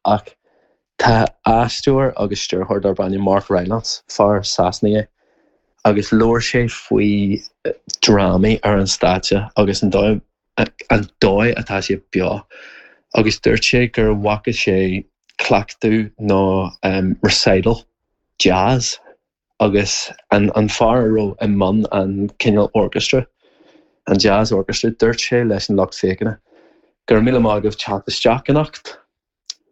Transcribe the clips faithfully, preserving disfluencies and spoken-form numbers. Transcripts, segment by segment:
ach tá aisteoir agus stiúrthóir darb ainm Mark Rylance fear Sasanach é agus labhair sé faoi drámaí ar an stáitse agus an dóigh an dóigh atá sé beo agus dúirt sé gur bhfaca sé cleachtadh nó um, recital jazz agus an, an fear a raibh i mbun an cineál orchestra an jazz orchestra dúirt sé leis an lucht féachana gur míle maith agaibh teacht isteach anocht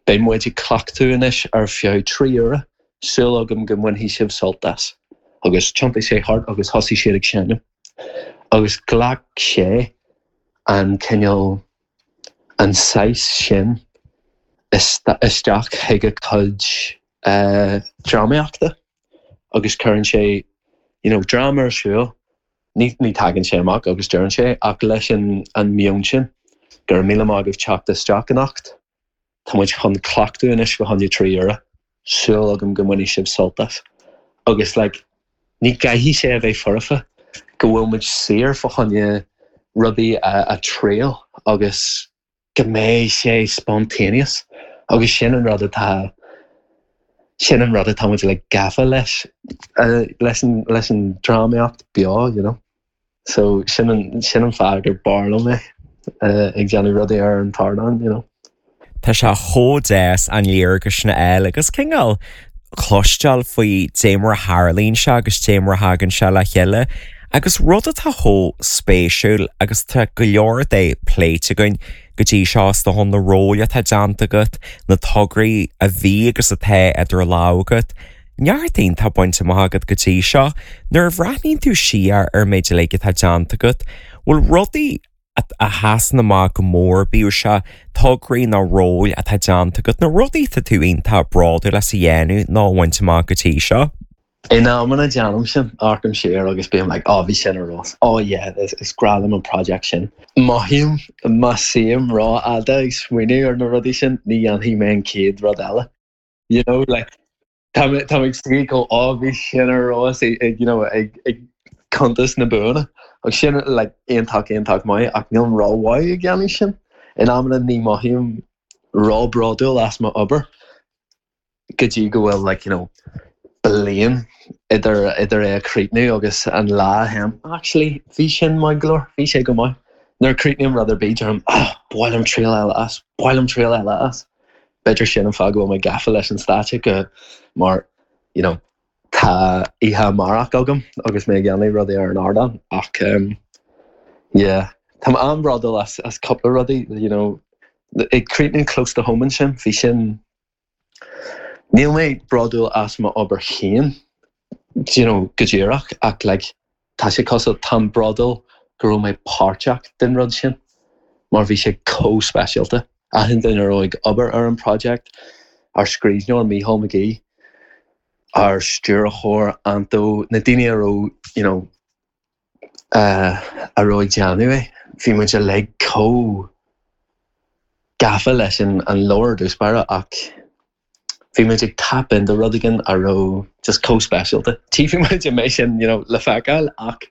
Beidh muid ag cleachtadh anois ar feadh trí uaire súil agam go mbainfidh sibh sult as agus thiontaigh sé thart agus thosaigh siad ag seinm agus ghlac sé an cineál an saghas sin isteach chuig a chuid uh, drámaíochta agus cuireann sé you know, dráma ar siúl ní ní tagann sé amach agus deireann sé ach leis an an meon sin gur míle maith agaibh teacht isteach anocht Tá muid chun cleachtadh anois go ceann trí uaire súil agam go mbainfidh sibh sult as agus like, ní gcaithfidh sé a bheith foirfe go bhfuil muid saor fá choinne rudaí a, a thriail agus go mbeidh sé spontaneous agus sin an rud atá sin an rud atá muid le gafa leis uh, leis an leis an drámaíocht beo you know so sin an sin an fáth gur barr liom é uh, ag déanamh rudaí ar an ardán you know Tá sé chomh deas an léargas sin a fháil agus cineál cloisteáil faoi dé mar a tharlaíonn sé agus dé mar a thagann sé le chéile, agus rud atá chomh spéisiúil agus tá go leor de pléite againn go dtí seo do hon na róil atá déanta agat na tograí a bhí agus atá idir lámha agat. Neart iontach bainte amach agat go dtí seo, nuair a bhreathnaíonn tú siar ar méid le atá déanta agat, bhfuil rudaí a sheasann amach go mór bíodh sé tograí nó róil atá déanta agat na rudaí tá tú iontach bródúil as a dhéanamh nó bhaint amach go dtí seo. In amanna déanaim sin amharcaim siar agus bím like oh bhí sin ar fheabhas oh yeah is, is breá liom an project sin. Mothaím má suím rófhada ag smaoineamh ar na rudaí sin ní dhéanfaidh mé an chéad rud eile. You know like tá tá ag suí go oh bhí sin ar fheabhas ag you know ag ag cuntas na buanna agus sin like iontach iontach maith ach níl rómhaith ag déanamh sin. In amanna ní mothaím róbhródúil as mo obair go dtí go bhfuil like you know bliain idir idir é a chríochnú agus an lá hem actually bhí sin maith go leor bhí sé go maith nuair chríochnaím rud ar bith deirim oh b'áil liom triail eile as b'áil liom triail eile as B'fhéidir sin an fáth go bhfuil mé gafa leis an stáitse go mar you know tá oíche amárach agam agus mé ag déanamh rudaí ar an ardán ach um, yeah Tá an-bhródúil as as cúpla rudaí you know ag críochnú close to home sin bhí sin Níl mé bródúil as mo obair féin you know go díreach ach like tá sé cosúil táim bródúil go raibh mé páirteach den rud sin mar bhí sé chomh speisialta achan duine a raibh ag obair ar an project ár scríbhneoir Mícheál McGee ár stiúrthóir Anto na daoine a raibh you know uh, a raibh ag déanamh é bhí muid uilig chomh gafa leis an an leabhar dúspara ach bhí muid ag tap into rud éigin a raibh just chomh speisialta. Tchífidh muid an mbeidh sin you know, le feiceáil ach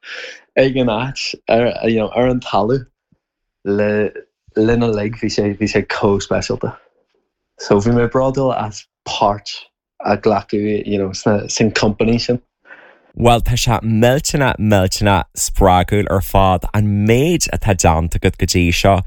ag an áit ar, you know, ar an talamh le lena lig bhí sé bhí sé chomh speisialta. So bhí mé bródúil as páirt a ghlacadh you know, sna sin company sin. Well tá sé millteanach millteanach spreagúil ar fad an méid atá déanta agat go dtí seo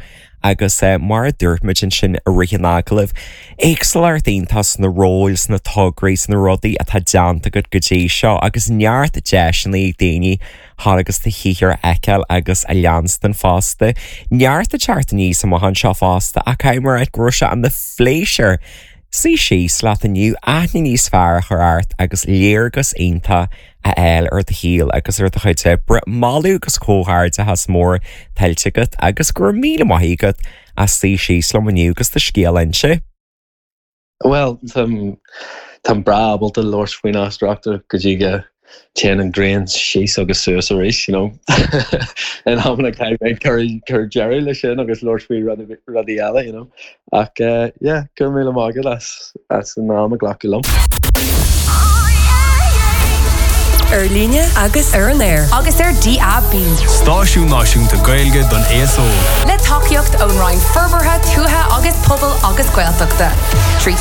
agus uh, mar a dúirt muid ansin i rith an agallaimh. Éagsúlacht iontach sna róil sna tograí sna rudaí atá déanta agat go dtí seo agus neart deiseanna ag daoine thar agus do shaothar a fheiceáil agus a leanstan fosta. Neart ag teacht aníos amach anseo fosta ach mar go raibh sé ina phléisiúr. Suí síos leat inniu aithne níos fearr a chur ort agus léargas iontach a fháil ar do shaol agus ar do chuid oibre moladh agus comhghairdeachas mór tuillte agat agus go raibh míle maith agat as suí síos liom inniu agus do scéal a inse. Well Tá Tá breá ábalta labhairt faoin aisteoireacht go dtí go dtéann an ghrian síos agus suas arís you know in amanna caithfidh cur cur deireadh leis sin agus labhairt faoi rudaí eile you know ach uh, yeah go raibh míle maith agat as as an am a ghlacadh liom. Ar líne agus ar an aer. Agus ar DAB. Stáisiún Náisiúnta Gaeilge don aos óg. Le tacaíocht ón Roinn Forbartha Tuaithe agus Pobail agus Gaeltachta. Trí